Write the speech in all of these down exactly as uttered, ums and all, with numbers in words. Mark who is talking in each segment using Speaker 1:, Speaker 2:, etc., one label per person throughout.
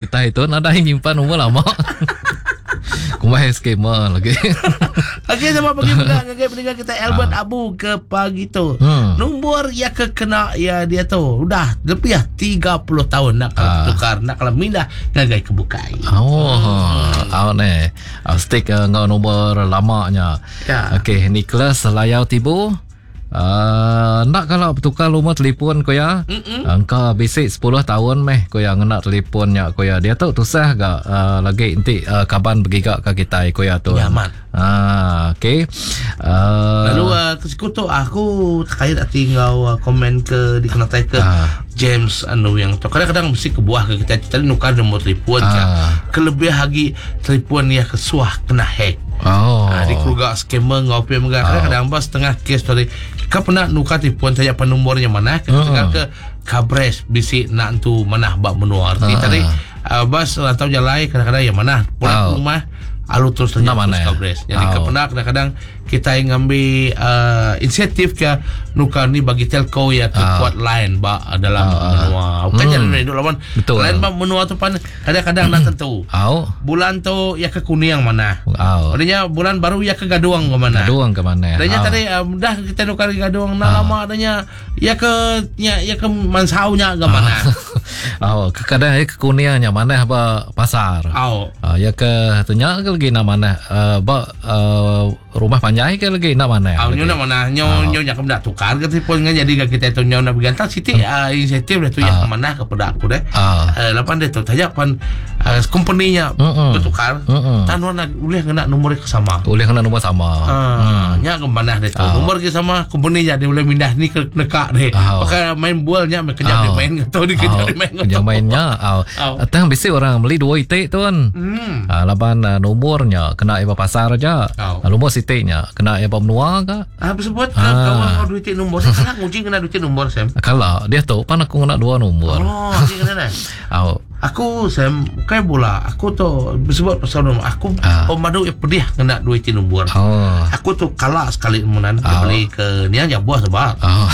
Speaker 1: Kitai tu nadai nyimpan umur lama. Kumbai scammer lagi.
Speaker 2: Okey, sama pagi mega ngagai pendengar kita Albert
Speaker 1: Ah.
Speaker 2: Abu ke pagi tu.
Speaker 1: Hmm.
Speaker 2: Nombor yang ke kena ya dia tu udah lebih tiga puluh tahun nak kalau
Speaker 1: Ah.
Speaker 2: tukar, nak kalau mindah ngagai ke bukai.
Speaker 1: Oh, hmm. ni. Ah, stick uh, ngau nombor lamanya.
Speaker 2: Ya.
Speaker 1: Okey, Nicholas Layau Tibu. Uh, nak kalau bertukar rumah telefon ko ya. Engkau bisik sepuluh tahun meh ko ya ngena telefonnya ko ya. Dia tu tusah ga uh, lagi nanti uh, kaban bergiga ke kita ko ya tu.
Speaker 2: Ya, amat.
Speaker 1: Ah, okey. Uh,
Speaker 2: Lalu uh, tu aku terkait hati ngau uh, komen ke dikenatai ke
Speaker 1: Ah.
Speaker 2: James anu yang tu. Kadang-kadang mesti kebuah ke kita kita nukar nombor telefon
Speaker 1: Ah.
Speaker 2: ke. Kelebih lagi telefon yang kesuah kena hack.
Speaker 1: Oh.
Speaker 2: Ah, di keluarga scammer ngau pe mega kadang-kadang bas setengah kes tadi. Kau pernah nukar telefon saja apa nombornya mana ke
Speaker 1: Ah.
Speaker 2: ke kabres bisi nak tu mana bak menua. Arti
Speaker 1: Ah.
Speaker 2: tadi uh, bas atau jalai kadang-kadang yang mana pulang
Speaker 1: Ah.
Speaker 2: ke rumah alu terus
Speaker 1: Nak
Speaker 2: terus
Speaker 1: mana?
Speaker 2: kabres. Jadi
Speaker 1: Ah.
Speaker 2: kau pernah kadang-kadang kita yang ngambil uh, insentif ke nukar ni bagi telco ya ke
Speaker 1: Ah.
Speaker 2: kuat line bak dalam
Speaker 1: Ah.
Speaker 2: menua. Bukan
Speaker 1: Hmm.
Speaker 2: jalan hidup lawan.
Speaker 1: Betul.
Speaker 2: Line bak menua tu pan kadang-kadang nak tentu.
Speaker 1: Au.
Speaker 2: Bulan tu ya ke Kuning mana?
Speaker 1: Au.
Speaker 2: Adanya bulan baru ya ke Gaduang ke mana?
Speaker 1: Gaduang ke mana?
Speaker 2: Adanya
Speaker 1: Au.
Speaker 2: tadi uh, dah kita nukar Gaduang nak
Speaker 1: Ah.
Speaker 2: lama adanya ya ke ya, ya ke Mansaunya ke mana?
Speaker 1: Oh, kadang ya ke Kuningnya mana ba pasar.
Speaker 2: Au.
Speaker 1: Ah, ya ke tanya ke lagi nak mana? Uh, ba uh, rumah panjai ke lagi nak mana?
Speaker 2: Au
Speaker 1: Lagi.
Speaker 2: nyo nak mana? Nyo
Speaker 1: Ah.
Speaker 2: nyo nak nak tukar ke telefon kan jadi kita tu nyo nak bergantung siti uh, insentif dah tu ya
Speaker 1: Ah.
Speaker 2: ke mana kepada aku deh.
Speaker 1: Ah.
Speaker 2: Uh, lapan dia tu saja pan uh, company-nya
Speaker 1: Mm-mm.
Speaker 2: bertukar.
Speaker 1: Mm-mm.
Speaker 2: Tan nak boleh kena nombor ke sama.
Speaker 1: Boleh kena nombor sama.
Speaker 2: Ah, nya ke mana dia tu.
Speaker 1: Ah.
Speaker 2: Nombor ke sama company-nya dia boleh pindah ni ke nekak deh.
Speaker 1: Ah.
Speaker 2: Pakai main bolnya kejap dia
Speaker 1: Ah.
Speaker 2: main ke tu dia kejap dia main ke
Speaker 1: Kejap
Speaker 2: tu.
Speaker 1: mainnya. Au.
Speaker 2: Au.
Speaker 1: Tang bisi orang beli dua itik tu kan.
Speaker 2: Hmm.
Speaker 1: Ah, laban uh, nomornya kena iba pasar aja.
Speaker 2: Au.
Speaker 1: Ah, nombor sitiknya kena iba menua ke?
Speaker 2: Ah, sebut
Speaker 1: Ah.
Speaker 2: kau kau duit nombor. Sekarang nguji kena duit nombor Sam.
Speaker 1: Kalau dia tu pan aku kena dua nombor.
Speaker 2: Oh, nguji kena dah.
Speaker 1: Au.
Speaker 2: Aku Sam bukan bola. Aku tu sebut pasal nombor. Aku
Speaker 1: Ah.
Speaker 2: pemadu yang pedih kena duit nombor.
Speaker 1: Oh.
Speaker 2: Aku tu kalah sekali menan dia
Speaker 1: Ah.
Speaker 2: beli ke ni aja buah sebab.
Speaker 1: Oh.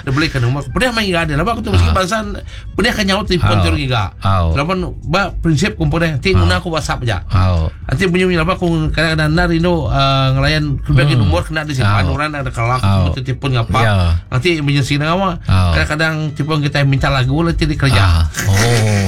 Speaker 2: Dia beli ke nombor. Pedih main gak ada. Lepas aku tu mesti bangsa pedih kan nyaut telefon
Speaker 1: Ah.
Speaker 2: tu giga.
Speaker 1: Ah.
Speaker 2: Lepas ba prinsip kumpul deh. Nanti guna aku WhatsApp aja.
Speaker 1: Au.
Speaker 2: Nanti bunyi bunyi apa aku kadang-kadang nak rindu uh, ngelayan bagi
Speaker 1: Hmm.
Speaker 2: nombor kena disimpan
Speaker 1: Ah.
Speaker 2: orang ada kelak
Speaker 1: Ah.
Speaker 2: telefon ngapa.
Speaker 1: Ya.
Speaker 2: Nanti emergency nak apa.
Speaker 1: Ah.
Speaker 2: Kadang-kadang telefon kita minta lagu nanti di kerja.
Speaker 1: Ah. Oh.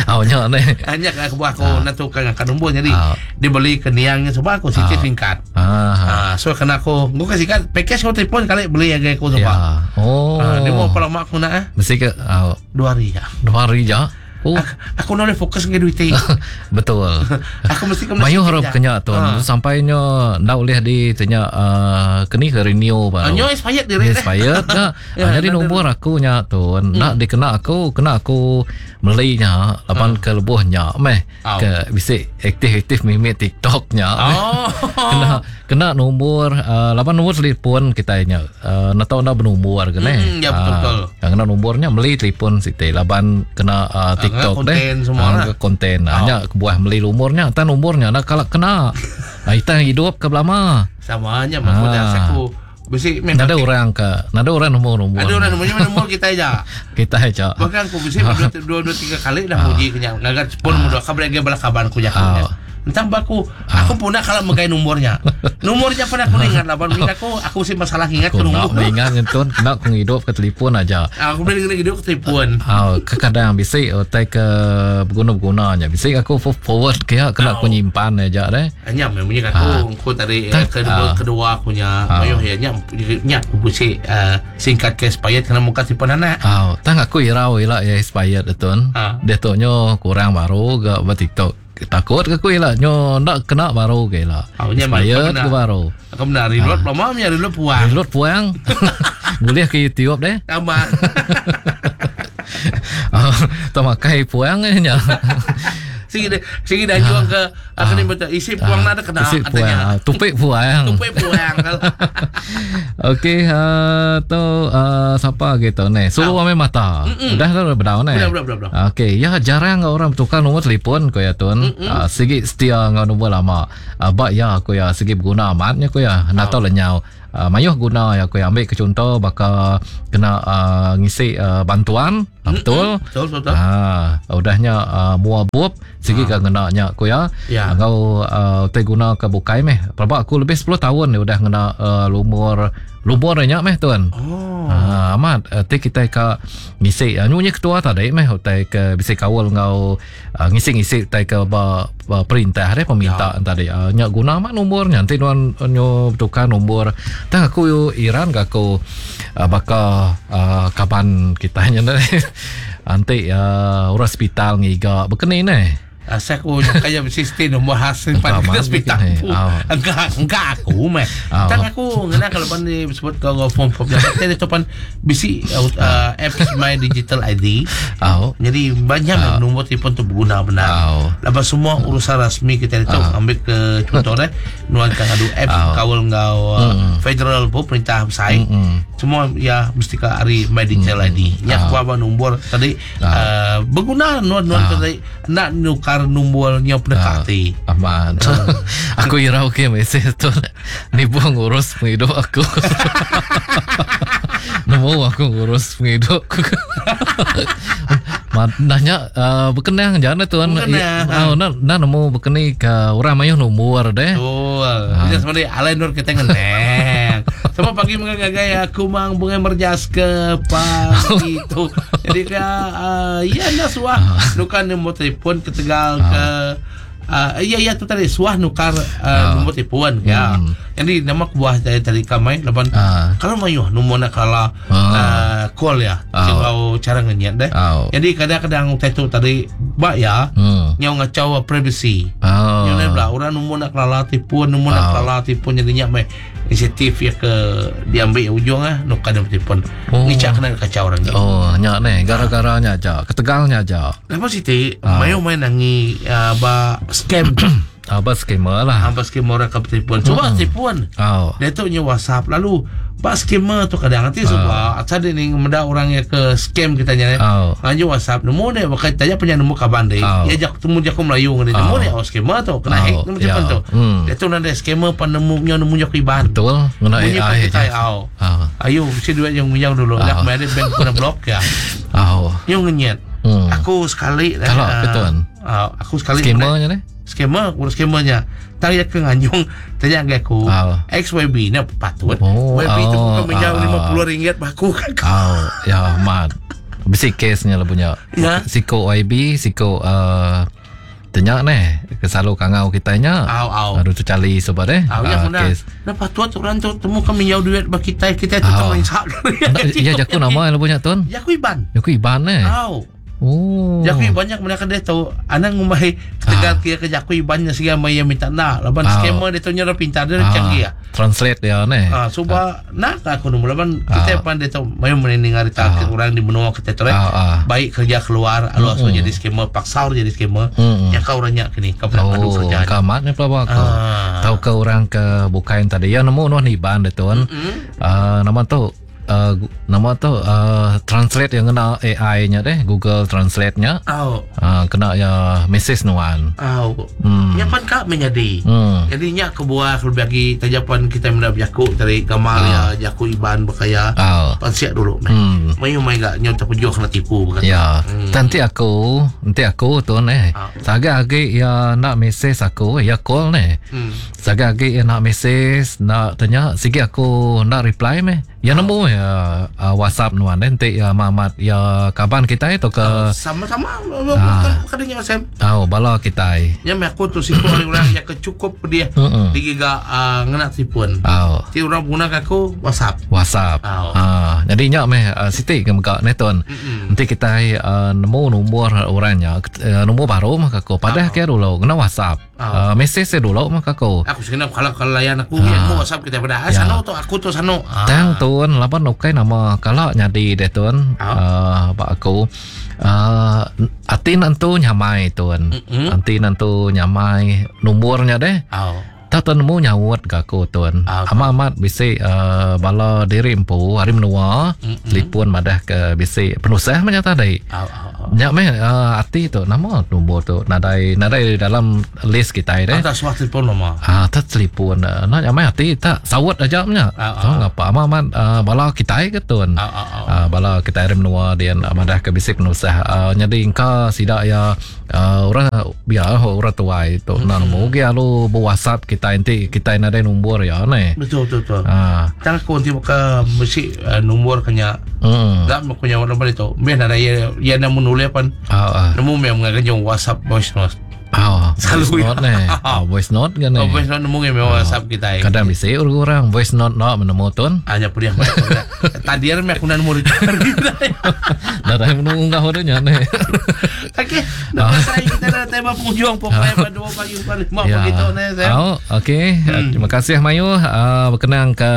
Speaker 1: Au nya ni.
Speaker 2: Hanya aku buat aku nak tukar ngangkat nombor jadi
Speaker 1: Ah.
Speaker 2: dia beli ke niangnya sebab aku siti
Speaker 1: Ah.
Speaker 2: singkat.
Speaker 1: Ah.
Speaker 2: Ah, so kena aku gua kasih kan package kau telefon kali beli yang aku sebab.
Speaker 1: Ya. Oh.
Speaker 2: Ah, dia mau apa lama aku nak eh?
Speaker 1: Mesti ke au,
Speaker 2: Dua hari ya.
Speaker 1: dua hari je. Oh.
Speaker 2: Aku, aku nak boleh fokus dengan duit ni.
Speaker 1: Betul.
Speaker 2: Aku mesti ke
Speaker 1: Mayu harap kenya tu
Speaker 2: Ah.
Speaker 1: sampainya ndak boleh di tanya uh, keni ke renew
Speaker 2: Ah,
Speaker 1: baru.
Speaker 2: nyo expired diri deh.
Speaker 1: Expired dah.
Speaker 2: Ya,
Speaker 1: Ah, jadi
Speaker 2: nak
Speaker 1: nombor aku nya tu nak dikena aku kena aku melinya lapan ke lebuhnya meh
Speaker 2: Au.
Speaker 1: ke bisik aktif-aktif mimik TikTok nya.
Speaker 2: Oh.
Speaker 1: Kena kena nombor uh, lapan nombor telefon kita nya uh, nak tahu nak bernombor ke ne.
Speaker 2: Hmm, ya, betul, betul.
Speaker 1: Ah, kena nombornya beli telefon siti laban kena uh, TikTok
Speaker 2: kena
Speaker 1: deh.
Speaker 2: konten semua
Speaker 1: Ah,
Speaker 2: lah.
Speaker 1: ke konten. Hanya kebuah beli nomornya, tan nomornya nak kalau kena. Ah, itang hidup ke belama.
Speaker 2: Sama aja aku
Speaker 1: Ah.
Speaker 2: dah aku besi main
Speaker 1: Nada orang ke, nada orang nombor-nombor.
Speaker 2: Ada orang nomornya nombor kita aja.
Speaker 1: Kita aja.
Speaker 2: Bahkan aku besi dua, dua, dua tiga kali dah muji kenyang. Ngagat pun muda kabar lagi balak kabar aku jakunya.
Speaker 1: Ah.
Speaker 2: Entah baku, aku pun nak kalau megai nomornya. Nomornya pun aku ingat lah. Baru aku aku sih masalah ingat
Speaker 1: Aku
Speaker 2: ke
Speaker 1: nak
Speaker 2: nombor.
Speaker 1: mengingat tu, nak aku hidup ke telefon aja.
Speaker 2: Aku boleh kena hidup ke telefon.
Speaker 1: Ah, kadang bisik utai ke berguna-gunanya. Bisik aku forward ke kena aku nyimpan aja deh.
Speaker 2: Hanya memangnya aku aku tadi eh,
Speaker 1: Tak,
Speaker 2: kedua
Speaker 1: ah.
Speaker 2: kedua aku nya mayo ya nya nya aku besi eh, singkat ke expired kena muka telefon anak.
Speaker 1: Ah, tang aku irau ila ya expired tu.
Speaker 2: Ah.
Speaker 1: Dia tu nyo kurang baru ke ba TikTok. Takut ke aku ila nyo nak kena baru ke ila.
Speaker 2: Ah, nya
Speaker 1: Expired
Speaker 2: kena.
Speaker 1: ke baru.
Speaker 2: Aku benar reload lama nya reload puang.
Speaker 1: Reload puang. Boleh ke YouTube deh.
Speaker 2: Sama.
Speaker 1: Ah, tak makai puang eh nya.
Speaker 2: Sigi dah sigi dah jual ke aku ni betul isi puang nak ada kena
Speaker 1: Isi puang.
Speaker 2: katanya.
Speaker 1: Ah, Tupik puang.
Speaker 2: Tupik puang kalau.
Speaker 1: Okey, uh, tu uh, siapa gitu ni? Suluh ame mata. Dah tu bedau ni.
Speaker 2: Udah, udah, udah, udah.
Speaker 1: Okey, ya jarang orang bertukar nombor telefon ko ya tuan. Uh, sigi setia ngau nombor lama. Uh, bak ya aku ya sigi berguna amatnya ko ya. Nak tahu lenyau. Uh, mayuh guna ya aku ya ambil ke contoh baka Kena uh, ngisi uh, bantuan. Mm-hmm. Betul.
Speaker 2: Betul, betul.
Speaker 1: Ha, udahnya uh, mua bup sigi ke ngena nya ku ya.
Speaker 2: Ya.
Speaker 1: Ngau uh, te guna ke bukai meh. Pelaba aku lebih sepuluh tahun ni udah ngena uh, lumur lumur nya meh tuan.
Speaker 2: Oh.
Speaker 1: Ha, amat uh, te kita ka ngisi uh, nyunya ketua tadi meh utai ke bisi kawal ngau uh, ngisi-ngisi utai ke ba, ba perintah deh peminta ya. Tadi uh, nya guna amat nomornya nanti nuan nyo tukar nombor. Tang aku Iran ke aku uh, baka uh, kaban kita nya nanti uh, orang hospital ngiga bekeni ne.
Speaker 2: Asal aku kaya mesti nombor hasil pada hospital. Enggak enggak aku meh. Tang aku ngena kalau pan disebut kau form form jadi tu pan bisi uh, apps My Digital I D.
Speaker 1: Oh.
Speaker 2: Jadi banyak nombor telefon tu berguna benar. Lepas semua urusan rasmi kita itu ambil ke contoh deh nuan kan adu apps kawal ngau federal pun perintah besar. Semua ya mesti ke hari My Digital I D. Nya aku apa nombor tadi berguna nuan nuan tadi nak nukar nombornya pendekati.
Speaker 1: Aman. Aku irau ke mesej tu. Ni buang ngurus penghidup aku. Nemu aku ngurus penghidup aku. Nanya uh, berkenang jangan tuan. Oh, nak nak nemu berkeni ke orang mayuh nombor deh.
Speaker 2: Betul. Ini sebenarnya alai nur kita ngeneng. Sama pagi mengagai aku mang bunga merjas ke pagi itu. Jadi ke uh, ya nak suah nukar nombor telefon ke Tegal ke uh, iya iya tu tadi suah nukar uh, nombor telefon ya.
Speaker 1: Hmm.
Speaker 2: Jadi nama buah dari tadi kamai laban
Speaker 1: uh.
Speaker 2: kalau mayuh nombor nak kalah
Speaker 1: uh.
Speaker 2: uh, call ya.
Speaker 1: Uh.
Speaker 2: Cara ngenyat deh.
Speaker 1: Uh.
Speaker 2: Jadi kadang-kadang tu tadi bak ya
Speaker 1: hmm.
Speaker 2: nyau ngacau privacy.
Speaker 1: Uh.
Speaker 2: Nyau lah orang nombor nak kalah telefon nombor
Speaker 1: uh.
Speaker 2: nak kalah telefon jadi nyak mai inisiatif ya ke diambil ujung ah nukar nombor telefon.
Speaker 1: Oh.
Speaker 2: Ngicak kena kacau orang ni.
Speaker 1: Oh, nyak ni gara-garanya aja, ketegalnya aja.
Speaker 2: Lepas itu
Speaker 1: uh.
Speaker 2: mayu main nangi uh, ba scam.
Speaker 1: Apa scammer lah.
Speaker 2: Apa scammer orang ke telefon. Cuba
Speaker 1: hmm.
Speaker 2: telefon.
Speaker 1: Oh.
Speaker 2: Dia tu nya WhatsApp lalu ba scammer tu kadang nanti sebab
Speaker 1: oh.
Speaker 2: asal dia ni menda orang yang ke scam kita nya.
Speaker 1: Oh.
Speaker 2: Lanjut WhatsApp nombor dia pakai tanya punya nombor kaban dia.
Speaker 1: Oh.
Speaker 2: Dia jak temu jak Melayu ngene.
Speaker 1: Oh.
Speaker 2: Nombor dia oh scammer tu kena
Speaker 1: oh.
Speaker 2: hack nombor telefon
Speaker 1: yeah.
Speaker 2: tu.
Speaker 1: Hmm.
Speaker 2: Dia tu nanti scammer pan nemu nya nemu jak iban.
Speaker 1: Betul. Ngena A I.
Speaker 2: Oh.
Speaker 1: Oh.
Speaker 2: Ayo si duit yang minjam dulu.
Speaker 1: Oh.
Speaker 2: Dah kemarin bank kena blok ya.
Speaker 1: Oh.
Speaker 2: Yang ngenyet.
Speaker 1: Hmm.
Speaker 2: Aku sekali
Speaker 1: kalau
Speaker 2: uh,
Speaker 1: betul.
Speaker 2: Uh, aku sekali
Speaker 1: scammernya ni.
Speaker 2: Scammer, urus scammernya. Tanya ke nganjung, tanya ke aku.
Speaker 1: Oh.
Speaker 2: X Y B ni patut.
Speaker 1: Oh,
Speaker 2: Y B tu
Speaker 1: oh,
Speaker 2: bukan minjam
Speaker 1: oh,
Speaker 2: lima puluh ringgit baku kan.
Speaker 1: Oh, ya mat. Bisi case-nya lah punya.
Speaker 2: Ya.
Speaker 1: Siko Y B, siko uh, tanya ni kesalu kangau kita nya.
Speaker 2: Au au.
Speaker 1: Aduh tu cali sobat eh.
Speaker 2: Au ya
Speaker 1: uh,
Speaker 2: nah patut orang tu temu kami minjau duit bagi kita kita tu
Speaker 1: Oh.
Speaker 2: tak insak.
Speaker 1: Ya jaku nama lah punya tuan.
Speaker 2: Jaku Iban.
Speaker 1: Jaku Iban eh.
Speaker 2: Au.
Speaker 1: Oh.
Speaker 2: Jaku banyak mereka dia tahu anak ngumai tegal
Speaker 1: Ah.
Speaker 2: kia ke jaku ibannya sehingga maya minta nak laban
Speaker 1: Ah.
Speaker 2: scammer dia tu nyara pintar dia
Speaker 1: Ah,
Speaker 2: canggih ya.
Speaker 1: Translate dia ni.
Speaker 2: Ah cuba nak aku nombor laban kita
Speaker 1: Ah.
Speaker 2: pan dia tahu mayu mendengar
Speaker 1: Ah.
Speaker 2: kita orang di benua kita tu
Speaker 1: Ah, ah.
Speaker 2: baik kerja keluar alu mm jadi scammer paksa orang jadi scammer
Speaker 1: Mm-mm.
Speaker 2: yang kau orangnya kini kau pernah adu
Speaker 1: Oh,
Speaker 2: kerja.
Speaker 1: kamat ni pelaba aku.
Speaker 2: Ah.
Speaker 1: Tahu ke orang ke bukan tadi ya nemu nuan iban dia tuan. Ah, nama tu uh, nama tu uh, translate yang kena A I-nya deh, Google Translate-nya.
Speaker 2: Au
Speaker 1: Uh, kena ya message nuan.
Speaker 2: au.
Speaker 1: Hmm.
Speaker 2: Nya pan kak menjadi.
Speaker 1: Hmm.
Speaker 2: Jadi nya kebuah kalau bagi tajapan kita menda berjaku dari gamal ya jaku iban berkaya.
Speaker 1: Ah.
Speaker 2: Pansiak dulu meh.
Speaker 1: Hmm.
Speaker 2: Mayu mai gak nyo terpejuh kena tipu bukan.
Speaker 1: Ya,
Speaker 2: Hmm.
Speaker 1: nanti aku, nanti aku tu ni.
Speaker 2: Ah.
Speaker 1: Saga-agi ya nak message aku, ya call ni.
Speaker 2: Hmm.
Speaker 1: Saga-agi ya nak message, nak tanya, sigi aku nak reply meh. Ya nemu ya uh, WhatsApp nuan nanti ya Mamat ya kaban kita itu ke
Speaker 2: Sama-sama bukan kadangnya Sam.
Speaker 1: oh, bala kita.
Speaker 2: Nya meh aku tu siku orang yang kecukup dia
Speaker 1: Mm-mm.
Speaker 2: digiga uh, ngena telefon.
Speaker 1: Oh,
Speaker 2: Ti orang guna aku WhatsApp.
Speaker 1: WhatsApp.
Speaker 2: Oh.
Speaker 1: Ah, jadi nyak meh uh, Siti ke mega ni tuan.
Speaker 2: Mm-mm.
Speaker 1: Nanti kita uh, nemu nombor orangnya, uh, nombor baru mah aku. Padah ke dulu kena WhatsApp.
Speaker 2: Oh.
Speaker 1: Uh, message saya dulu mah aku.
Speaker 2: Aku sebenarnya kalau kalau layan aku ya mau WhatsApp kita pada ah,
Speaker 1: Ya.
Speaker 2: sano tu aku tu sano. Ah.
Speaker 1: Tang tuan laban ukai nama kalau nyadi deh tuan
Speaker 2: Oh.
Speaker 1: uh, bak aku uh, ati nantu nyamai tuan.
Speaker 2: Mm-mm.
Speaker 1: Ati nantu nyamai nombornya deh.
Speaker 2: Oh.
Speaker 1: Tak nemu nyaut ke aku tuan.
Speaker 2: Ah,
Speaker 1: Amat-amat bisi uh, bala diri empu hari menua telefon madah ke bisi penusah macam tadi.
Speaker 2: Ah, ah, ah.
Speaker 1: Nya meh uh, ati tu nama nombor tu nadai nadai dalam list kita deh.
Speaker 2: Ada suah telefon nama.
Speaker 1: Ah, tak telefon. Nak nyamai hati tak sawut aja nya.
Speaker 2: Ah,
Speaker 1: Tahu ngapa amat-amat uh, bala kita ke tuan.
Speaker 2: Ah, ah, ah.
Speaker 1: Ah, bala kita hari menua dia madah ke bisi penusah. Uh, jadi engka sidak ya uh, orang biar orang tua itu mm-hmm. nak nemu ge alu WhatsApp kita nanti kita nadai nombor ya ne.
Speaker 2: Betul betul betul.
Speaker 1: Ah.
Speaker 2: Tang aku nanti buka mesti uh, nombor kenya.
Speaker 1: Hmm.
Speaker 2: Tak mau punya nombor itu. Biar ada ya ya namun nulis pan.
Speaker 1: Ah, ah.
Speaker 2: Nemu memang ngakan WhatsApp voice note.
Speaker 1: Ah,
Speaker 2: Selalu
Speaker 1: voice
Speaker 2: ya.
Speaker 1: note ne. Ah, voice note kan ne.
Speaker 2: Oh, voice note nemu memang WhatsApp kita. eh.
Speaker 1: Kadang bisi orang voice note nak menemu tuan.
Speaker 2: Hanya pun yang tadi kan aku nak nemu
Speaker 1: Dah menunggu ngah nya ne.
Speaker 2: Okey, nak pasal kita dah tema penghujung pokoknya pada dua pagi empat lima
Speaker 1: Ya.
Speaker 2: begitu ni saya.
Speaker 1: Oh, okey. Hmm. Terima kasih Mayu uh, berkenang ke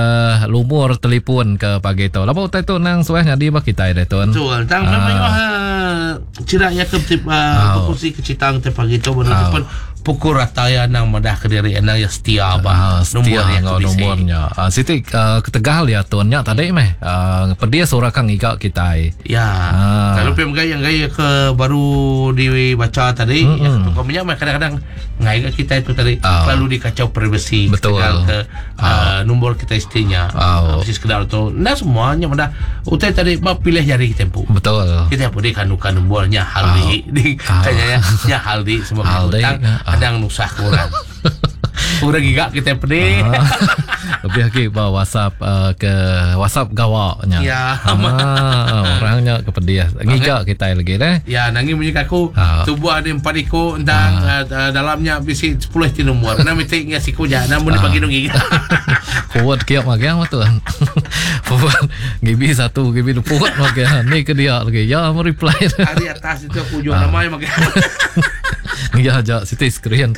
Speaker 1: lumur telefon ke pagi tu. Lapa utai tu nang suah nyadi ba kita dah tuan.
Speaker 2: Betul. Tang memang ah cira ya ke tip
Speaker 1: Ah.
Speaker 2: berkongsi kecitang tip pagi tu benar pun pukul rata ya nang madah ke diri nang ya setia
Speaker 1: Ah,
Speaker 2: bah
Speaker 1: setia
Speaker 2: yang
Speaker 1: ngau
Speaker 2: kebisi.
Speaker 1: nomornya. Ah, Siti uh, ketegal ya tuan nya tadi meh. Uh, pedia suara kang igak kita.
Speaker 2: Ya.
Speaker 1: Ah.
Speaker 2: Kalau pem gaya yang gaya ke baru dibaca tadi, mm-hmm. ya, tukar minyak mah kadang-kadang ngai ke kita itu tadi
Speaker 1: Ah.
Speaker 2: selalu dikacau privasi
Speaker 1: Betul.
Speaker 2: ketegal ke ah. nombor kita istrinya.
Speaker 1: Ah.
Speaker 2: Mesti sekedar tu. Nah semuanya pada utai tadi bah pilih jari kita pun.
Speaker 1: Betul.
Speaker 2: Kita pun di kanukan nombornya hal di di
Speaker 1: Ah.
Speaker 2: kayaknya ya hal di semua
Speaker 1: Hal di,
Speaker 2: hutang
Speaker 1: ah.
Speaker 2: kadang nusah kurang. Kurang gigak kita pedih.
Speaker 1: Ah. Lebih lagi bawa WhatsApp uh, ke WhatsApp gawaknya.
Speaker 2: Ya.
Speaker 1: Ah, orangnya ke pedih. Ngigak kita lagi deh.
Speaker 2: Ya, nangi bunyi aku
Speaker 1: Ah.
Speaker 2: tubuh ada empat ekor entang ah. uh, dalamnya bisi sepuluh ti nombor. Nah mesti ngas siku ja, namun dibagi dong gigi.
Speaker 1: Forward kiap magang tu. Forward G B satu, G B dua forward magang. Ni ke dia lagi. Ya, mau reply.
Speaker 2: Hari atas itu aku jual nama yang makan.
Speaker 1: Ya, jak Siti screen.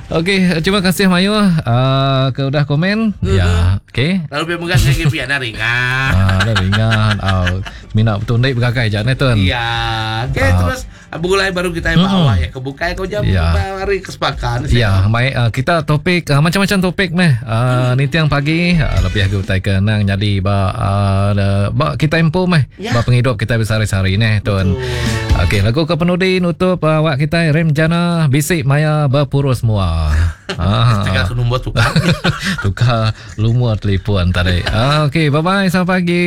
Speaker 1: Okey, terima kasih Mayu uh, ke udah komen. Ya, okey.
Speaker 2: Lalu biar mengas lagi biar dah ringan.
Speaker 1: Ah, dah ringan. Ah, minat betul ndek bergagai jak ni tuan.
Speaker 2: Ya, okey terus mulai baru kita bawa ya kebuka kau jam
Speaker 1: Ya.
Speaker 2: hari kesepakatan.
Speaker 1: Ya, baik uh, kita topik uh, macam-macam topik meh. Uh, ni tiang pagi uh, lebih aku utai ke nang jadi ba uh, ba kita empu meh.
Speaker 2: Ya.
Speaker 1: Ba penghidup kita besar-hari ni tuan. Okey, lagu ke penudi nutup uh, awak kita Rem Jana Bisik Maya Berpurus Mua. Ah.
Speaker 2: Tegal ke nombor tukar.
Speaker 1: Tukar lumur telefon tadi. Ah, okey, bye bye sampai pagi.